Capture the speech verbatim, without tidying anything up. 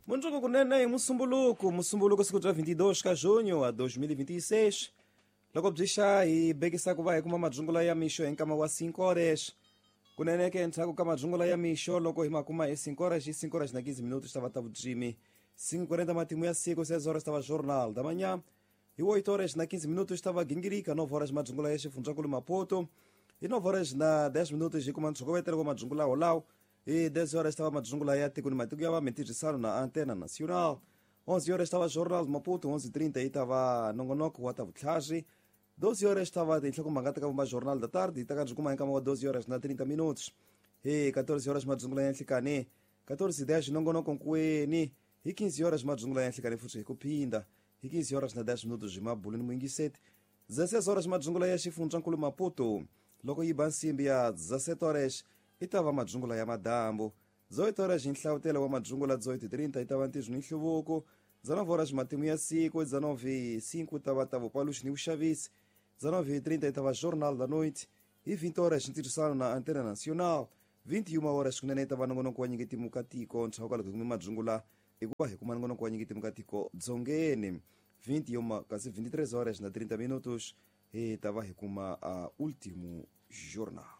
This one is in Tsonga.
Mundzuku kunene hi Musumbuluku, Musumbuluku siku bya vinte e dois ka junho a dois mil e vinte e seis. Loko byi xa hi bekisa ku va hi kuma madzungula ya mixo hi nkama wa cinco horas. Kunene ke endzhaku ka madzungula ya mixo, loko hi ma kuma hi cinco horas, hi cinco horas na quinze minutos ta va ta vudzimi. cinco e quarenta matimu ya siku, seis horas ta va Jornal da Manhã. Hi oito horas na quinze minutos ta va Gingirika, nove horas madzungula ya xifundzankulu Maputo. Hi nove horas na dez minutos hi kuma ntshokovetelo wa madzungula wolawo. Hi dez horas ta va madzungula ya tiko ni matiko ya va mintirhisano na Antena Nacional. onze horas ta va Jornal de Maputo, onze e trinta yi ta va nongonoko wa ta vutlhari. doze horas ta va tinhlokomhaka ta ka vumba Jornal da Tarde, ta ka byi kuma hi nkama wa doze horas na trinta minutos. Hi catorze horas madzungula ya nhlikani, catorze e dez nongonoko nkuweni. Hi quinze horas madzungula ya nhlikani futhi hi ku phinda. Hi quinze horas na dez minutos hi mabulu ni muyingiseti. dezesseis horas madzungula ya xifundzankulu Maputo. Loko yi ba nsimbi ya dezessete horas i ta va madzungula ya madambu. Dezoito horas hi nhlavutelo wa madzungula, dezoito e trinta i ta va ntirho ni nhluvuko. dezenove horas matimu ya siku, dezenove e cinco ta va ta vupaluxi ni vuxavisi. dezenove e trinta i ta va Jornal da Noite. Hi vinte horas ntirhisano na Antena Nacional. vinte e uma horas kunene i ta va nongonoko wa nyiketimu ka tiko ndzhaku ka loko hi kume madzungula, hikuva hi kuma nongonoko wa nyiketimu ka tiko dzongeni vinte e uma, kasi vinte e três horas na trinta minutos hi ta va hi kuma uh, último jornal.